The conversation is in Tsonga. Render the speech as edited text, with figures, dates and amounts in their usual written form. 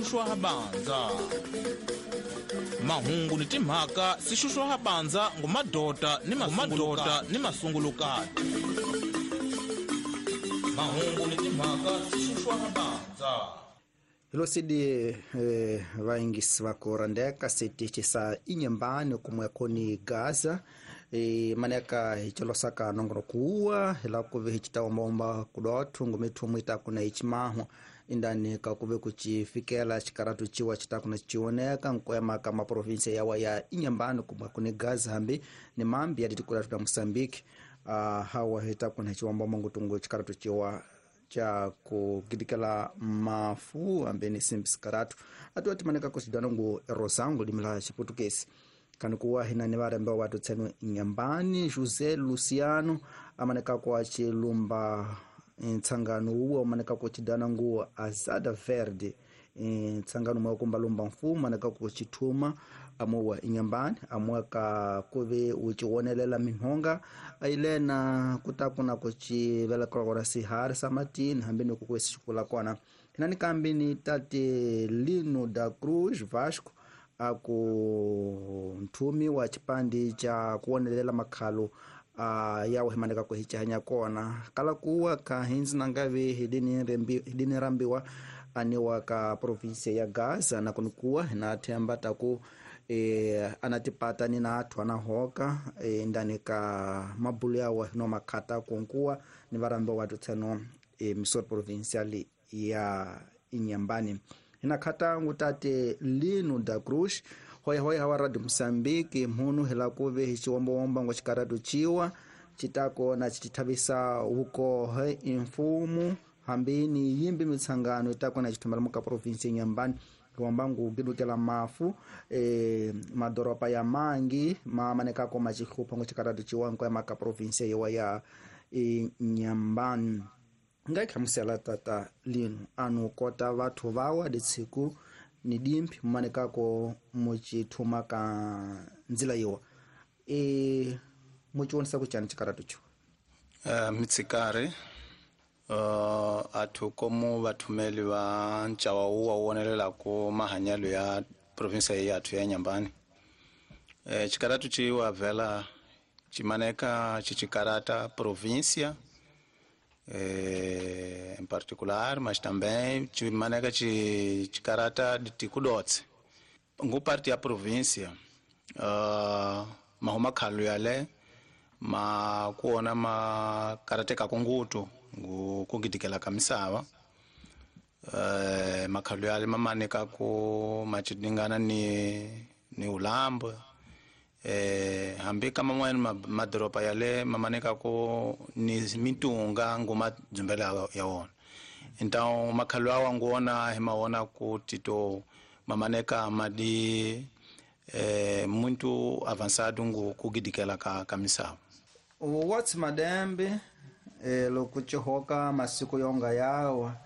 Xuxwa bandza mahungu ni timhaka si xuxwa bandza ngumadota ni mamadota ni masungulukati mahungu ni timhaka si xuxwa bandza Hilosidi vaingisi vakurandeka sitichi sa Inhambane kumweko ni Gaza maneka hicilosaka nongoro kuwa hila kuve hicitaombaomba kudothu ngumithumu itakuna icimahu indani kakuve kucifikela cikaratu ciwa citakuna cioneka nkoyama ka maprovinsia yawa ya Inhambane kumweko ni Gaza hambi ni mambi yaditikulatu da Moçambique hawa hitakuna hiciombaomba ngutungu cikaratu ciwa cha kugidikela mafu ambene simpiskaratu atu atimaneka kusidana ngu rosango limila chiputukesi kanikuwa hinani varembe watu tsenu Inhambane José Luciano amaneka kwa chilumba ntsangano uwo amaneka kuchidana ngu Azada Verde ntsangano mwa kumbalumba mfumo amaneka kuchithuma amuwa Inhambane amuwaka kuve uchiwonelela minhonga ailena kutakuna kuchivelekela kona sihari samatini hambi ni kukwesi xikula kona hinani kambi ni tate Lino da Cruz Vasco aku nthumi wa chipandi cha kuwonelela makhalo yawo himaneka kuhichahanya kona kala kuwa ka hinzi nangave hidini rambiwa aniwa ka provinsia ya Gaza na kunikuwa hinathemba taku anatipata ni na athu anahoka ndani ka mabulu yawo no makhata kunkuwa ni varambe watu tseno misori provincial ya Inhambane hinakhata tate Lino da Cruz hoyahoya hawa Radio Moçambique mhunu hila kuve hiciwombawomba ngo cikaratu ciwa citako na citithavisa ukohe imfumu hambi ni yimbi mitsangano itako na cithumela muka provinsia Inhambane kiwambangu kidukela mafu madoropa ya mangi mamanekako macihlupha ngo cikaratu ciwa nko ya maka provinsia yewa ya Inhambane ngaikhamusela tata Lino anu kota vathu vawa ditsiku ni dimphi mumanekako mucithuma ka nzila yiwa muciwonisa kucani cikaratu ciwa mitsikari athu komu vathumeli va ncawa wuwa wu wonelelaku mahanyelo ya provinsia yathu ya Inhambane cikaratu ciwa vela cimaneka cicikarata província em particular, mas também cimaneka cikarata tikudotse ngu parte ya província mahuma khalu yale ma kuona makarateka kungutu ngu kugidikela ka misava makhalu yale mamaneka ku macidingana ni ulambo hambi ka man'wana madoropa yale mamaneka ku ni mitunga ngu madzumbela ya wona então makhalu awa nguona hi mawona ku tito mamaneka madi muito avançado ngu kugidikela ka misava what's madembe loko cihoka masiku yonga yawa